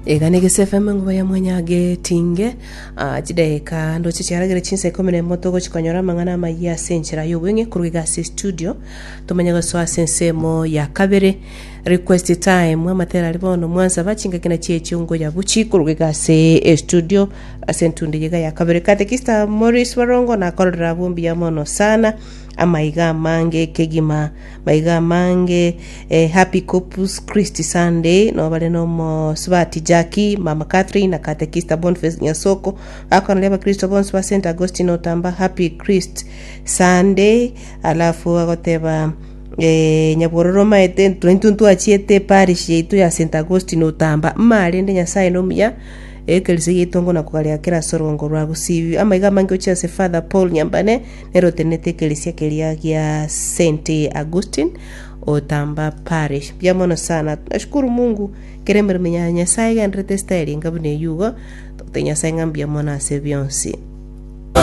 Iga ne Gese FM enguba ya mwanyage tinge Ah, chidaeka ndoche chiaragere chinsa ikomi na emo togochi konyora amang'ana amayia ase enchera y'obweng'e korwa iga ase studio tomanye gosoa ase ensemo ya kabere request time amatera aria bono mwansaba chingaki na chiechio ngoya buchi korwa iga ase estudio ase entundo eye iga ya kabere katekista Maurice Barongo nakororera abwo mbuya mono sana amaiga amange kegima Maiga amange eh, Happy Corpus Christi Sunday nobare nomosubati Jackie, Mama Catherine na Katekista Boniface Nyasoko bakonaria abakristo bonsi ba St Augustine Otamba Happy Christ Sunday alafu agoteba eh, nyabwororo omaete ntwe intwe ntwachiete parish yaito ya St Augustine Otamba mmarende Nyasaye nomuya ekerisia giaito ngona kogaria kera ase orongo rwa Gusii amaiga amange gochia ase Father Paul Nyambane Nere otenenete ekerisia keria gia Saint Augustine o Tamba Parish. Mbuya mono sana. Nashukuru Mungu kera emeremo ya Nyasaye egenderete estyle enga buna eyio igo, togotebia Nyasaye ng'a mbuya mono ase bionsi.